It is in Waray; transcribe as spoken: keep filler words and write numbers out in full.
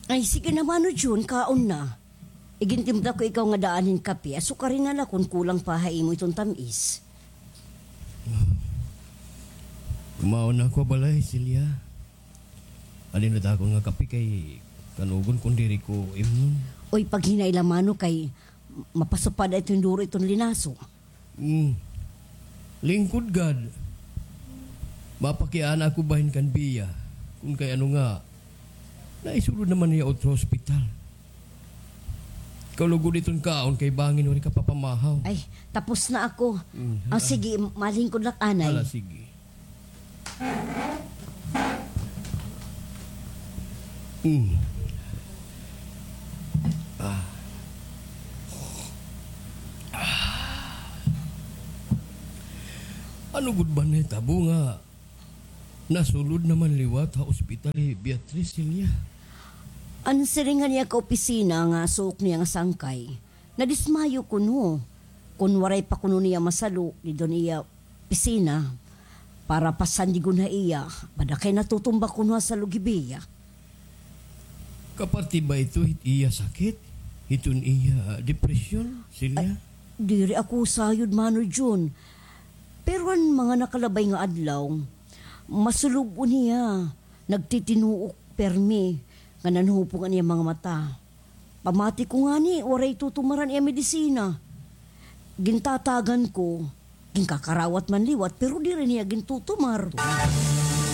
Ay, sige na, Mano Jun, kaon na. Igintimpla ko ikaw nga daan hin kape, asukari na la kon kulang pa ha imo iton tam-is. Kumaon na ako ha balay, Celia. Alin na akon nga kape kay kanugon kon diri ko imnon. Oy, paghinay la, Mano, kay mapasupad iton duro iton linaso. Hmm. Lingkod gad. Mapakiana ako bahin kan Bia. Kun kay ano nga, naisulod naman niya utro hospital. Kalugod iton kaon kay bangin waray ka papamahaw. Ay, tapos na ako. Mm, Ah, hala. Sige, malingkod lak anay. Hala, sige. Mm. Ah. Ano gud ba nahitabo nga nasulod naman liwat ha ospital hi Beatrice, Celia? An siring han iya kaopisina nga suok niya nga sangkay, nadismayo kuno. Kon waray pa kuno niya masalo didto han iya opisina para pasandigon ha iya, bada kay natutumba kuno ha salog hi Bia. Kaparte ba ito hit iya sakit? Hiton iya depresyon, Celia? Ay, diri ako sayod, Mano Jun. Pero an mga nakalabay nga adlaw, masulub-on hiya, nagtitinuok permi, nga nanhupong an iya mga mata. Pamati ko ngani, waray tutumar an iya medisina. Gintatagan ko, ginkakarawat man liwat, pero diri niya gintutumar.